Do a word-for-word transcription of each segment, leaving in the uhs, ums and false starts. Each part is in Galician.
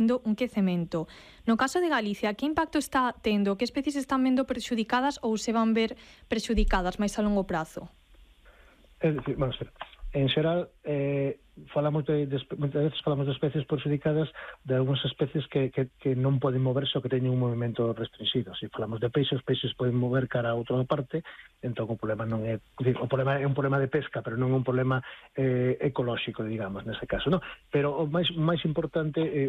un quecemento. No caso de Galicia, que impacto está tendo? Que especies están vendo perxudicadas ou se van ver perxudicadas máis a longo prazo? É dicir, vamos ver, en xeral eh, falamos de, de moitas veces falamos de especies perxudicadas, de algunhas especies que, que, que non poden moverse ou que teñen un movimento restringido. Se falamos de peixes, os peixes poden mover cara a outra parte, entón o problema non é, o problema é un problema de pesca, pero non é un problema eh, ecolóxico, digamos, nese caso, non? Pero o máis máis importante, eh,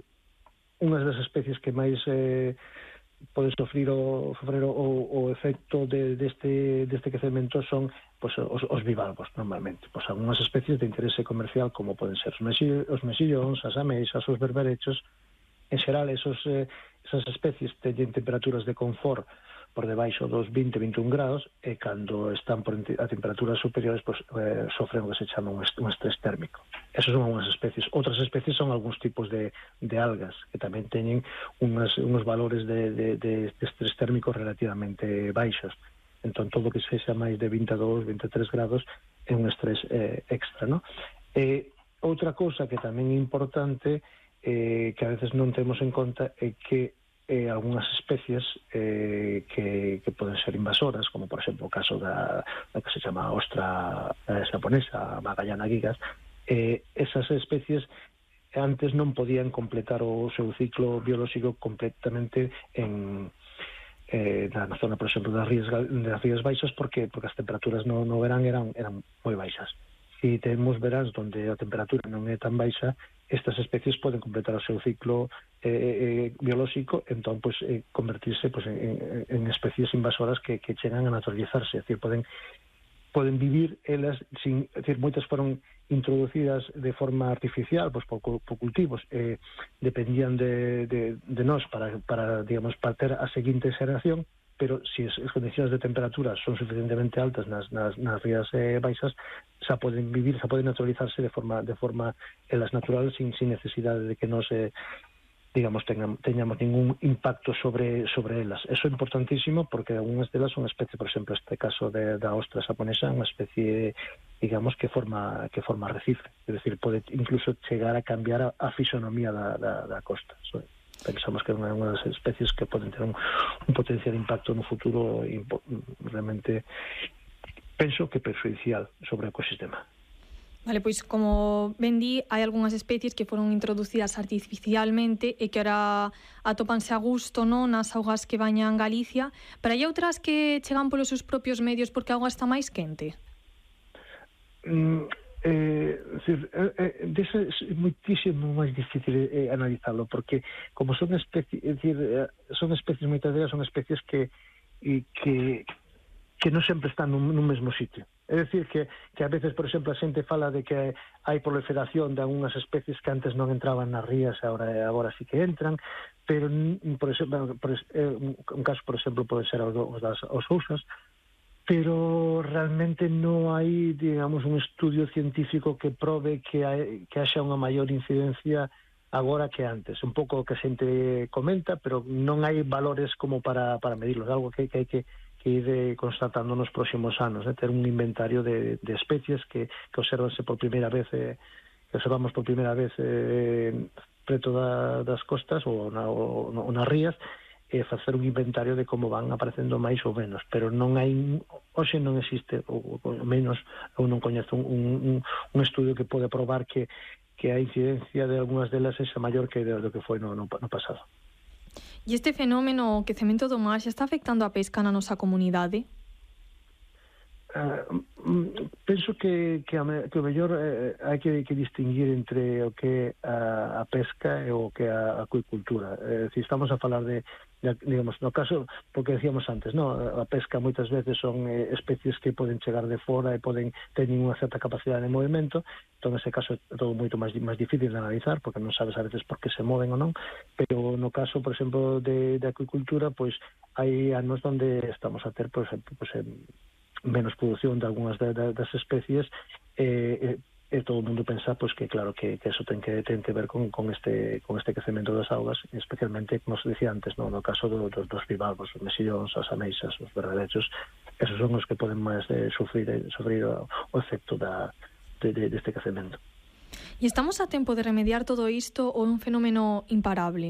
unhas das especies que máis eh, pode sofrir o, sofrer o, o efecto de, deste, deste quecemento son pues, os, os bivalvos, normalmente. Pues, algunhas especies de interese comercial, como poden ser os, mexi, os mexillóns, as ameixas, os berberechos. En xeral, esos, eh, esas especies teñen temperaturas de confort por debaixo dos vinte a vinte e un grados, e cando están por a temperaturas superiores, pues, eh, sofren o que se chama un, est un estrés térmico. Esas son algunhas especies. Outras especies son algúns tipos de, de algas, que tamén teñen unas, unos valores de, de, de estrés térmico relativamente baixos. Entón, todo o que sexa máis de vinte e dous, vinte e tres grados é un estrés eh, extra, ¿no? E outra cousa que tamén é importante, eh, que a veces non temos en conta, é que eh, algunhas especies eh, que, que poden ser invasoras, como por exemplo o caso da, da que se chama ostra eh, japonesa, Magallana gigas, eh, esas especies antes non podían completar o seu ciclo biolóxico completamente en eh, na zona, por exemplo, das rías, das rías baixas, porque porque as temperaturas no, no verán eran, eran moi baixas. Se temos veráns onde a temperatura non é tan baixa, estas especies poden completar o seu ciclo eh, eh, biolóxico, entón, pues, eh, convertirse pues, en, en especies invasoras que, que chegan a naturalizarse, é dicir, poden poden vivir elas sin, é dicir, moitas foron introducidas de forma artificial, pues, por, por cultivos, eh, dependían de, de, de nós para, para, digamos, para ter a seguinte xeración, pero se si as condicións de temperatura son suficientemente altas nas, nas, nas rías eh, baixas, xa poden vivir, xa poden naturalizarse de forma de forma elas naturales, sin, sin necesidade de que nos eh, digamos, teñamos, teñamos ningún impacto sobre sobre elas. Eso é importantísimo, porque algunhas delas son especies, por exemplo, este caso de, da ostra japonesa, unha especie, digamos, que forma que forma arrecife, é dicir, pode incluso chegar a cambiar a, a fisonomía da, da, da costa. So, pensamos que é unha das especies que poden ter un, un potencial impacto no futuro realmente, penso que perxudicial sobre o ecosistema. Vale, pois como ben di, hai algunhas especies que foron introducidas artificialmente e que ora atópanse a gusto, non, nas augas que bañan Galicia, pero hai outras que chegan polos seus propios medios porque a auga está máis quente? Mm, eh, decir, eh, dese é moitísimo máis difícil eh, analizarlo, porque como son especies, é dicir, son especies, moitas delas son especies que e que que non sempre están nun, nun mesmo sitio. É dicir, que, que a veces, por exemplo, a xente fala de que hai proliferación de algunhas especies que antes non entraban nas rías, agora, agora sí que entran, pero, por exemplo, por, un caso, por exemplo, pode ser os das os ousas, pero realmente non hai, digamos, un estudio científico que prove que, hai, que haxa unha maior incidencia agora que antes. Un pouco o que a xente comenta, pero non hai valores como para, para medirlos, algo que, que hai que que ir constatando nos próximos anos, eh, ter un inventario de, de especies que, que observanse por primeira vez, eh, que observamos por primeira vez eh, preto da, das costas ou, na, ou, ou nas rías, e facer un inventario de como van aparecendo máis ou menos, pero non hai, hoxe non existe, ou, ou menos, eu non coñezo un, un, un estudio que pode probar que, que a incidencia de algunhas delas é maior que do que foi no, no, no pasado. E este fenómeno, o quecemento do mar, xa está afectando a pesca na nosa comunidade? Uh, penso que, que, a, que o mellor eh, hai que, que distinguir entre o que é a, a pesca e o que é a acuicultura. Eh, si estamos a falar de, de, digamos, no caso, porque decíamos antes, no, a pesca moitas veces son eh, especies que poden chegar de fora e poden teñen unha certa capacidade de movimento, entón nese caso é todo moito máis, máis difícil de analizar, porque non sabes a veces por que se moven ou non, pero no caso, por exemplo, de, de acuicultura, pois hai anos onde estamos a ter, por exemplo, pois, eh, menos produción de algunhas de, de, das especies, e, e, e todo o mundo pensa pois, que claro que, que eso ten que, ten que ver con, con este con este crecemento das augas, especialmente, como se dicía antes, no, no caso do, dos, dos bivalvos, os mexillóns, as ameixas, os berberechos, esos son os que poden máis eh, sufrir, sufrir o, o efecto da, de, de, deste crecemento. E estamos a tempo de remediar todo isto ou é un fenómeno imparable?